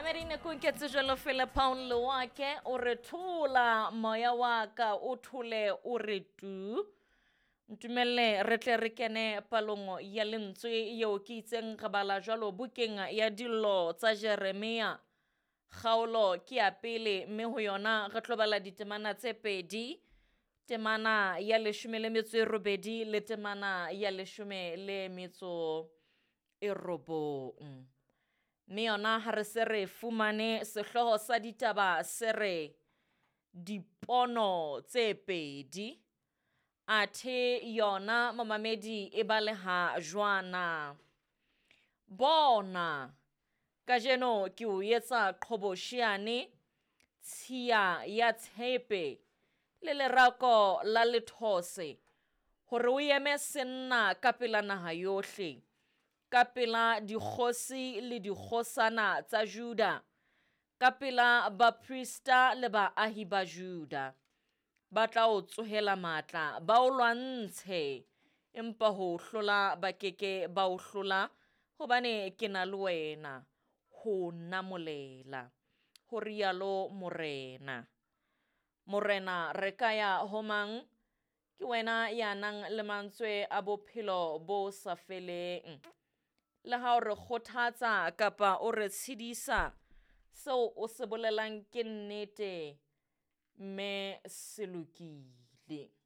Mamedi nakong ke tsejelo fela Paul Lewake o re thola moya wa ka o thole o re tu. Ntumelle re tle re kene palong ya lentswe yeo ke itseng re bala jwalo bukeng ya dillo tsa Jeremia. Kgaolo ke ya pele mme ho yona re tlo bala ditemana tse pedi, temana ya leshome le metso e robedi le temana ya leshome le metso e robong. Mme yona ha re se re fumane sehlooho sa ditaba se re dipono tse pedi. Athe yona momamedi e baleha jwana. Bona, kajeno ke o etsa qhobosheane, tshiya ya tshepe le lerako la lethose, hore o eme senna ka pela naha yohle, ka pela dikgosi le dikgosana tsa Juda, ka pela baprista le baahi ba Juda. Ba tla o tsohela matla, ba o lwantshe, empa ho o hlola ba keke ba o hlola, hobane ke na le wena ho o namolela, ho rialo Morena. Morena re ka ya ho mang? Ke wena ya nang le mantswe a bophelo bo sa feleng. Le ha o re kgothatsa kapa o re tshedisa, seo o se bolelang ke nnete mme se lokile.